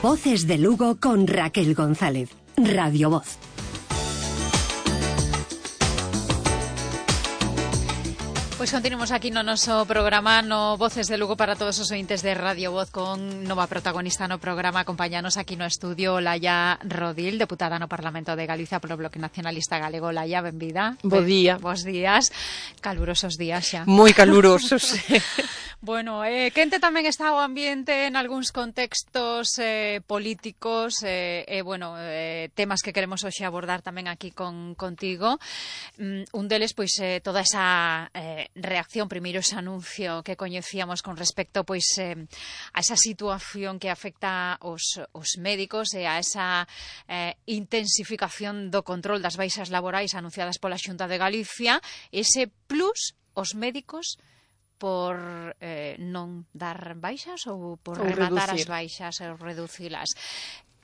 Voces de Lugo con Raquel González. Radio Voz. Pois continuamos aquí no noso programa no Voces de Lugo para todos os ointes de Radio Voz con nova protagonista no programa. Acompáñanos aquí no estudio Laia Rodil, deputada no Parlamento de Galicia polo Bloque Nacionalista Galego. Laia, benvida. Bo día. Bos días. Calurosos días xa. Moi calurosos. Bueno, quente tamén está o ambiente en algúns contextos políticos temas que queremos hoxe abordar tamén aquí contigo. Un deles, pois, toda esa reacción, primeiro ese anuncio que coñecíamos con respecto pois a esa situación que afecta os médicos e a esa intensificación do control das baixas laborais anunciadas pola Xunta de Galicia, ese plus os médicos por non dar baixas ou por rematar as baixas ou reducilas.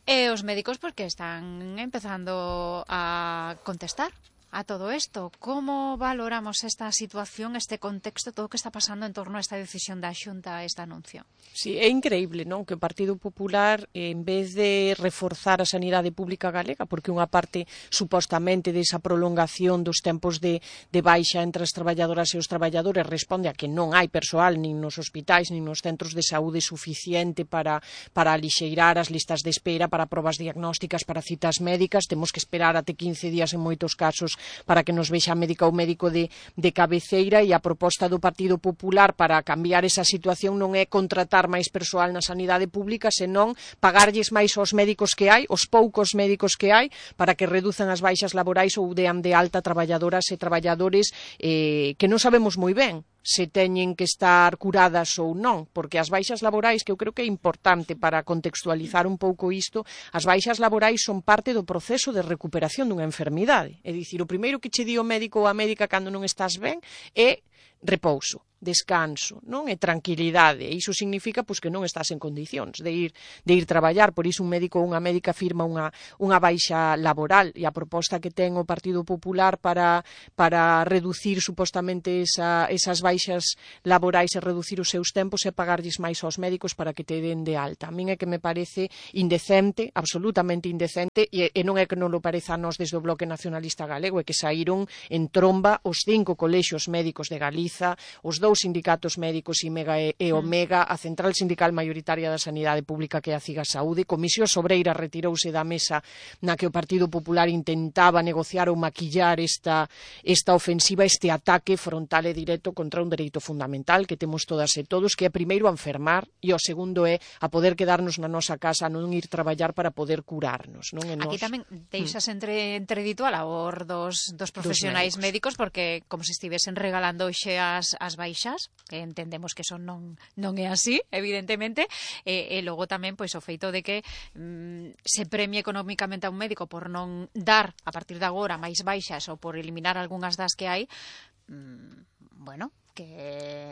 E os médicos porque están empezando a contestar a todo isto. Como valoramos esta situación, este contexto, todo o que está pasando en torno a esta decisión da Xunta, a este anuncio? Sí, é increíble, non? Que o Partido Popular, en vez de reforzar a sanidade pública galega, porque unha parte, supostamente, desa prolongación dos tempos de baixa entre as traballadoras e os traballadores responde a que non hai persoal nin nos hospitais, nin nos centros de saúde suficiente para alixeirar as listas de espera para probas diagnósticas, para citas médicas. Temos que esperar até 15 días en moitos casos para que nos vexa a médica ou médico de cabeceira, e a proposta do Partido Popular para cambiar esa situación non é contratar máis persoal na sanidade pública, senón pagarlles máis aos médicos que hai, os poucos médicos que hai, para que reduzan as baixas laborais ou dean de alta traballadoras e traballadores que non sabemos moi ben se teñen que estar curadas ou non, porque as baixas laborais, que eu creo que é importante para contextualizar un pouco isto, as baixas laborais son parte do proceso de recuperación dunha enfermidade. É dicir, o primeiro que che di o médico ou a médica cando non estás ben é repouso, descanso, non? E tranquilidade. E iso significa pois que non estás en condicións de ir traballar. Por iso un médico ou unha médica firma unha baixa laboral, e a proposta que ten o Partido Popular para reducir supostamente esas baixas laborais e reducir os seus tempos é pagarlles máis aos médicos para que te den de alta. A min é que me parece indecente, absolutamente indecente, e non é que non lo pareza a nós desde o Bloque Nacionalista Galego, é que saíron en tromba os 5 colexios médicos de Galiza, os 2 sindicatos médicos, IMEGA e Omega, a Central Sindical Maioritaria da Sanidade Pública, que é a CIGA Saúde. Comisión Obreira retirouse da mesa na que o Partido Popular intentaba negociar ou maquillar esta ofensiva, este ataque frontal e directo contra un dereito fundamental que temos todas e todos, que é primeiro a enfermar e o segundo é a poder quedarnos na nosa casa, non ir traballar para poder curarnos, non? Aquí tamén deixas entredito a labor dos profesionais médicos, porque como se estivesen regalando xe as baixas, que entendemos que eso non é así, evidentemente, e logo tamén pois o feito de que se premie económicamente a un médico por non dar a partir de agora máis baixas ou por eliminar algunhas das que hai, que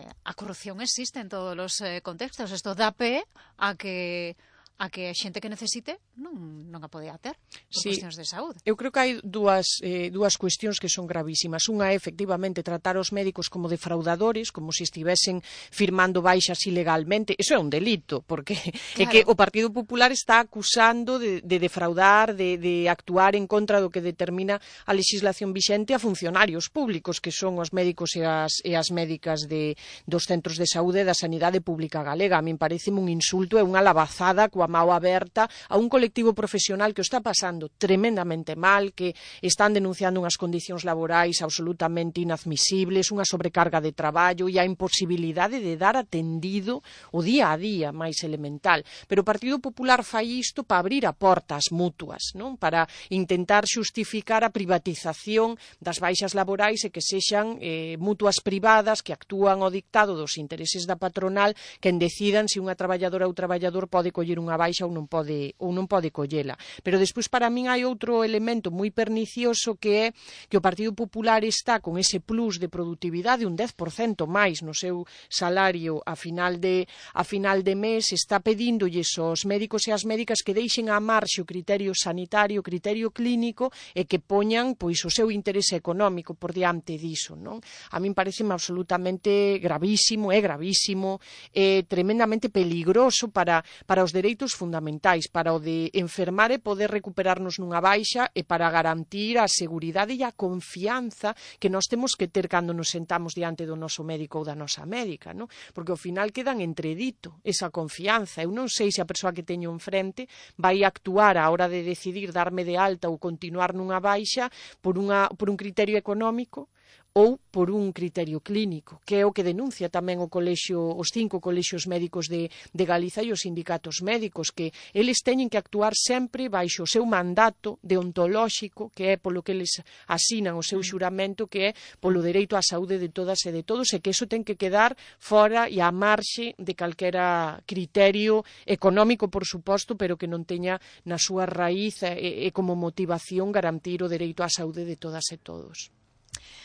a corrupción existe en todos os contextos. Isto dá pé a que a xente que necesite non a podía ter por cuestións de saúde. Eu creo que hai dúas cuestións que son gravísimas. Unha é, efectivamente, tratar os médicos como defraudadores, como se estivesen firmando baixas ilegalmente. Eso é un delito, porque é que o Partido Popular está acusando de defraudar, de actuar en contra do que determina a legislación vixente a funcionarios públicos, que son os médicos e as médicas dos centros de saúde da sanidade pública galega. A min parece un insulto e unha labazada coa mao aberta a un colectivo profesional que o está pasando tremendamente mal, que están denunciando unhas condicións laborais absolutamente inadmisibles, unha sobrecarga de traballo e a imposibilidade de dar atendido o día a día máis elemental. Pero o Partido Popular fai isto para abrir a porta ás mutuas, non? Para intentar xustificar a privatización das baixas laborais e que sexan mutuas privadas que actúan ao dictado dos intereses da patronal, quen decidan se unha traballadora ou traballador pode coller unha baixa ou non pode collela. Pero despois para min hai outro elemento moi pernicioso, que é que o Partido Popular está con ese plus de productividade, un 10% máis no seu salario a final de mes, está pedíndolles aos médicos e ás médicas que deixen á marxe o criterio sanitario, o criterio clínico, e que poñan pois o seu interese económico por diante diso, non? A min pareceme absolutamente gravísimo, é tremendamente peligroso para os dereitos dereitos fundamentais para o de enfermar e poder recuperarnos nunha baixa e para garantir a seguridade e a confianza que nós temos que ter cando nos sentamos diante do noso médico ou da nosa médica, non? Porque ao final quedan entredito esa confianza. Eu non sei se a persoa que teño enfrente vai actuar á hora de decidir darme de alta ou continuar nunha baixa por un criterio económico ou por un criterio clínico, que é o que denuncia tamén os 5 colexios médicos de Galiza e os sindicatos médicos, que eles teñen que actuar sempre baixo o seu mandato deontolóxico, que é polo que eles asinan o seu xuramento, que é polo dereito á saúde de todas e de todos, e que iso ten que quedar fora e á marxe de calquera criterio económico, por suposto, pero que non teña na súa raíz e como motivación garantir o dereito á saúde de todas e todos.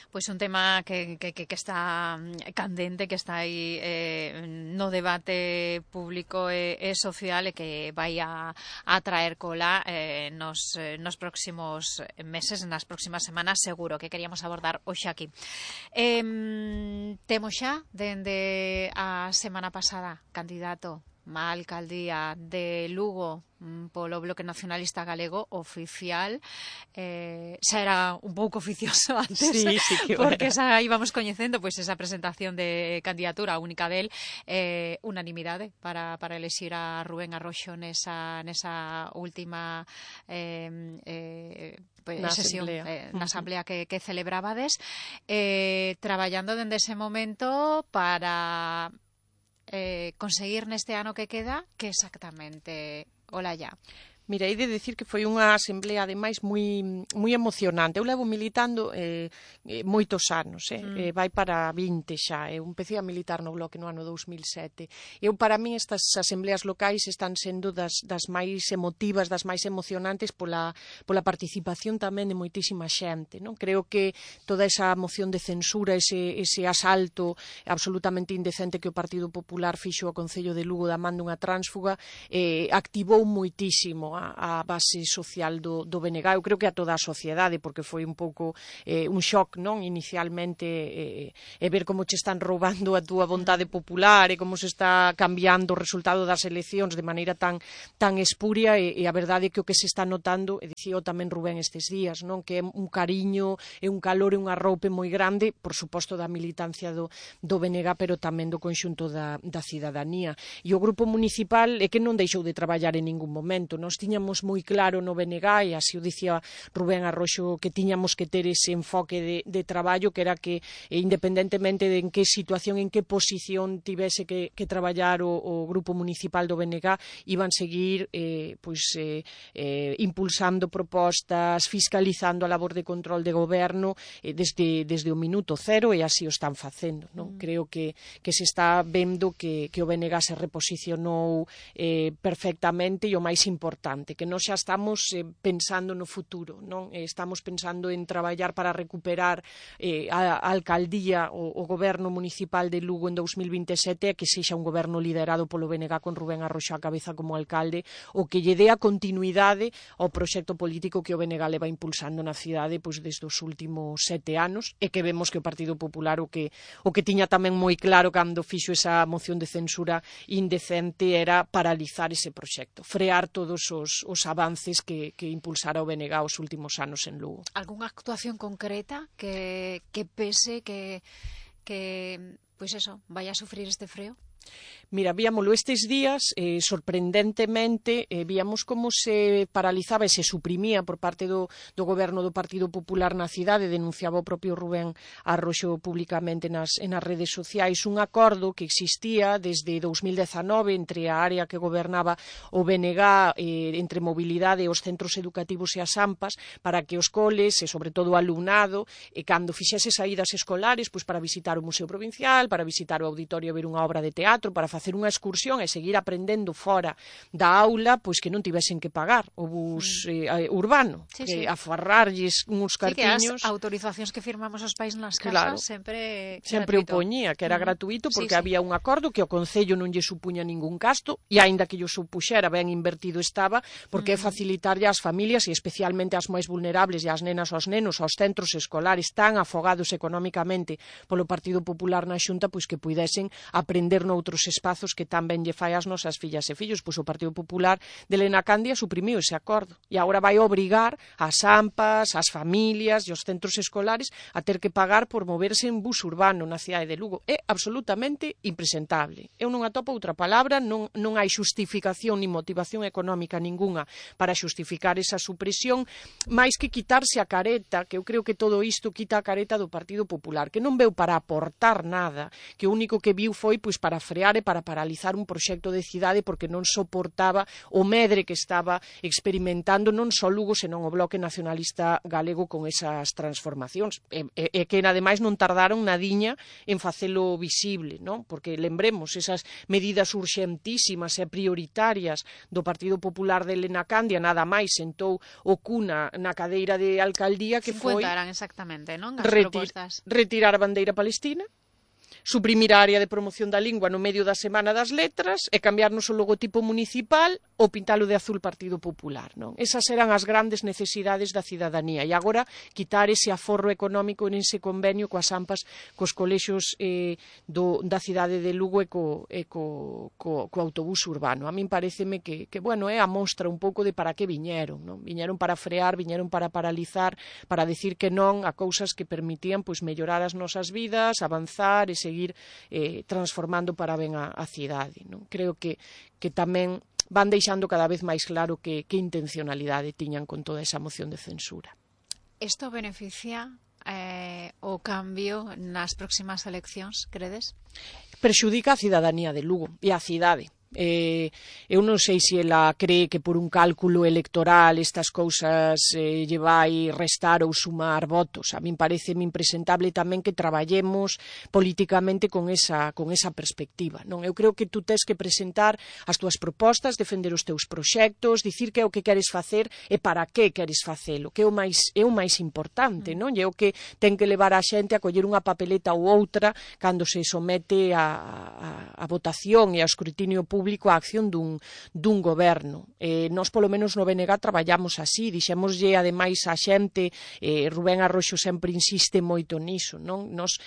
Pois un tema que está candente, que está aí no debate público e social e que vai a traer cola nos próximos meses, nas próximas semanas, seguro que queríamos abordar hoxe aquí. Temos xa, dende a semana pasada, candidato má alcaldía de Lugo polo Bloque Nacionalista Galego oficial, xa era un pouco oficioso antes, sí, que porque xa íbamos coñecendo pois esa presentación de candidatura única del, unanimidade para elexir a Rubén Arroxo nesa última sesión na asamblea que celebrabades, traballando dende ese momento para conseguir neste ano que queda que exactamente Olalla. Mira, hei de decir que foi unha asamblea, ademais, moi emocionante. Eu levo militando moitos anos, vai para 20 xa. Eu empecé a militar no Bloque no ano 2007. Para mí, estas asambleas locais están sendo das máis emotivas, das máis emocionantes pola participación tamén de moitísima xente, non? Creo que toda esa moción de censura, ese asalto absolutamente indecente que o Partido Popular fixo ao Concello de Lugo da man dunha tránsfuga, activou moitísimo a base social do BNG. Eu creo que a toda a sociedade, porque foi un pouco un shock, non? Inicialmente, ver como che están roubando a túa vontade popular e como se está cambiando o resultado das eleccións de maneira tan espuria, e a verdade é que o que se está notando, e dicío tamén Rubén estes días, non? Que é un cariño e un calor e un arroupe moi grande, por suposto da militancia do BNG, pero tamén do conxunto da cidadanía. E o grupo municipal é que non deixou de traballar en ningún momento. Nós tiñamos moi claro no BNG, e así o dicía Rubén Arroxo, que tiñamos que ter ese enfoque de traballo, que era que independentemente de en que situación, en que posición tivese que traballar o grupo municipal do BNG, iban seguir impulsando propostas, fiscalizando a labor de control de goberno desde o minuto cero, e así o están facendo, non? Creo que se está vendo que o BNG se reposicionou perfectamente, e o máis importante, que nós xa estamos pensando no futuro, non? Estamos pensando en traballar para recuperar a alcaldía, o goberno municipal de Lugo en 2027, que sexa un goberno liderado polo BNG con Rubén Arroxo á cabeza como alcalde, o que lle dé a continuidade ao proxecto político que o BNG leva impulsando na cidade desde os últimos 7 anos, e que vemos que o Partido Popular o que tiña tamén moi claro cando fixo esa moción de censura indecente era paralizar ese proxecto, frear todos os avances que impulsara o BNG os últimos anos en Lugo. Algúnha actuación concreta que pese que pois eso, vaya a sufrir este freo? Mira, víamoslo estes días, sorprendentemente, víamos como se paralizaba e se suprimía por parte do goberno do Partido Popular na cidade, denunciaba o propio Rubén Arroxo públicamente nas redes sociais, un acordo que existía desde 2019 entre a área que gobernaba o BNG, entre mobilidade e os centros educativos e as AMPAs, para que os coles, e sobre todo o alumnado, cando fixese saídas escolares, para visitar o Museo Provincial, para visitar o auditorio e ver unha obra de teatro, para facer unha excursión e seguir aprendendo fora da aula, que non tivesen que pagar o bus urbano, afarrarlles uns cartiños. Que as autorizacións que firmamos os pais nas casas sempre o poñía, que era gratuito, porque había un acordo que o Concello non lle supuña ningún gasto, e aínda que lle supuxera, ben invertido estaba, porque é facilitarlle ás familias, e especialmente ás máis vulnerables e ás nenas aos nenos, aos centros escolares tan afogados económicamente polo Partido Popular na Xunta, que puidesen aprender no noutros espazos que tan ben lle fai ás nosas fillas e fillos. Pois o Partido Popular de Elena Candia suprimiu ese acordo e agora vai obrigar ás AMPAs, ás familias e aos centros escolares a ter que pagar por moverse en bus urbano na cidade de Lugo. É absolutamente impresentable. Eu non atopo outra palabra, non hai xustificación ni motivación económica ninguna para xustificar esa supresión, máis que quitarse a careta, que eu creo que todo isto quita a careta do Partido Popular, que non veu para aportar nada, que o único que viu foi pois para frear e para paralizar un proxecto de cidade porque non soportaba o medre que estaba experimentando non só Lugo, senón o Bloque Nacionalista Galego con esas transformacións. E que, ademais, non tardaron nadiña en facelo visible, non? Porque lembremos esas medidas urxentísimas e prioritarias do Partido Popular de Elena Candia, nada máis sentou o cuna na cadeira de alcaldía, que foi exactamente, non? As propostas. Retirar a bandeira palestina, suprimir a área de promoción da lingua no medio da Semana das Letras e cambiarnos o logotipo municipal ou pintalo de azul Partido Popular, non? Esas eran as grandes necesidades da cidadanía e agora quitar ese aforro económico en ese convenio coas AMPAs, cos colexios da cidade de Lugo e co autobús urbano. A min pareceme que bueno, é a mostra un pouco de para que viñeron, non? Viñeron para frear, viñeron para paralizar, para decir que non a cousas que permitían pois mellorar as nosas vidas, avanzar e seguir transformando para ben a cidade, non? Creo que tamén van deixando cada vez máis claro que intencionalidade tiñan con toda esa moción de censura. Isto beneficia o cambio nas próximas eleccións, credes? Perxudica a cidadanía de Lugo e a cidade. Eu non sei se ela cree que por un cálculo electoral estas cousas lle vai restar ou sumar votos. A min pareceme impresentable tamén que traballemos políticamente con esa perspectiva, non? Eu creo que tú tes que presentar as túas propostas, defender os teus proxectos, dicir que é o que queres facer e para que queres facelo, que é o máis importante, non? E é o que ten que levar a xente a coller unha papeleta ou outra cando se somete a votación e ao escrutinio público a acción dun goberno. Nós, polo menos no BNG, traballamos así, dixémoslle ademais a xente, Rubén Arroxo sempre insiste moito niso, non? Nós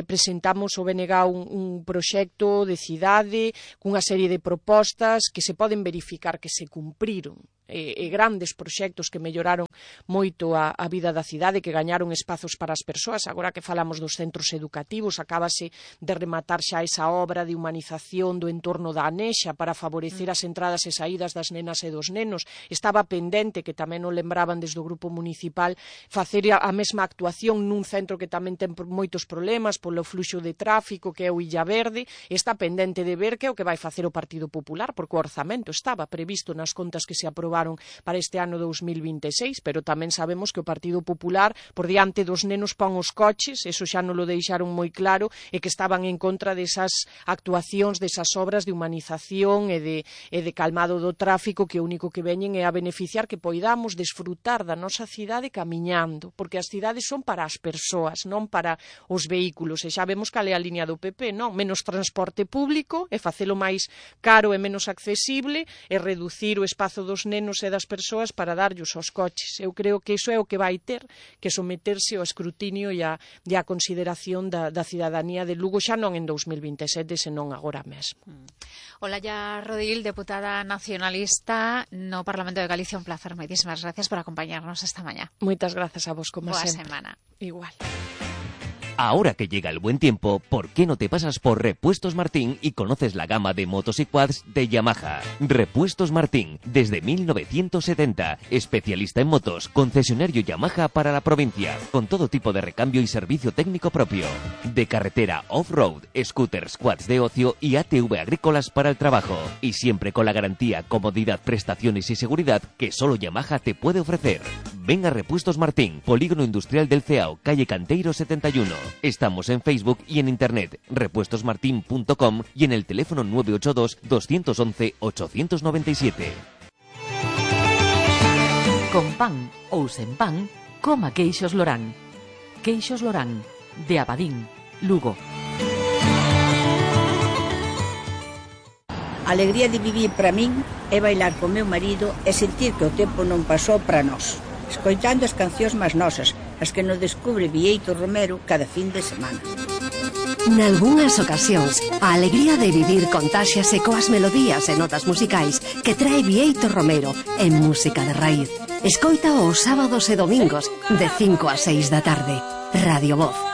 presentamos o BNG un proxecto de cidade cunha serie de propostas que se poden verificar que se cumpriron, e grandes proxectos que melloraron moito a vida da cidade, que gañaron espazos para as persoas. Agora que falamos dos centros educativos, acábase de rematar xa esa obra de humanización do entorno da Anexa para favorecer as entradas e saídas das nenas e dos nenos. Estaba pendente, que tamén o lembraban desde o grupo municipal, facer a mesma actuación nun centro que tamén ten moitos problemas polo fluxo de tráfico, que é o Illa Verde. Está pendente de ver que é o que vai facer o Partido Popular, porque o orzamento estaba previsto nas contas que se aprobaron para este ano 2026, pero tamén sabemos que o Partido Popular por diante dos nenos pon os coches, eso xa non lo deixaron moi claro, e que estaban en contra desas actuacións, desas obras de humanización e de calmado do tráfico, que o único que veñen é a beneficiar que poidamos desfrutar da nosa cidade camiñando, porque as cidades son para as persoas, non para os vehículos, e xa vemos cal é a liña do PP, non? Menos transporte público e facelo máis caro e menos accesible e reducir o espazo dos nenos e das persoas para darllos aos coches. Eu creo que iso é o que vai ter que someterse ao escrutinio e a consideración da cidadanía de Lugo, xa non en 2027, senón agora mesmo. Olalla Rodil, deputada nacionalista no Parlamento de Galicia, un placer. Moitísimas gracias por acompañarnos esta mañá. Moitas grazas a vos, como Boa sempre. semana. Igual. Ahora que llega el buen tiempo, ¿por qué no te pasas por Repuestos Martín y conoces la gama de motos y quads de Yamaha? Repuestos Martín, desde 1970, especialista en motos, concesionario Yamaha para la provincia, con todo tipo de recambio y servicio técnico propio. De carretera off-road, scooters, quads de ocio y ATV agrícolas para el trabajo. Y siempre con la garantía, comodidad, prestaciones y seguridad que solo Yamaha te puede ofrecer. Ven a Repuestos Martín, Polígono Industrial del Ceao, calle Canteiro 71. Estamos en Facebook y en internet, repuestosmartin.com y en el teléfono 982 211 897. Con pan ou sen pan, coma queixos Lorán. Queixos Lorán, de Abadín, Lugo. A alegría de vivir para min é bailar con meu marido e sentir que o tempo non pasou para nós, escoitando as cancións máis nosas, as que nos descubre Vieito Romero cada fin de semana. Nalgúnas ocasións, a alegría de vivir contáxiase coas melodías e notas musicais que trae Bieito Romero en Música de Raíz. Escoita os sábados e domingos de 5 a 6 da tarde. Radio Voz.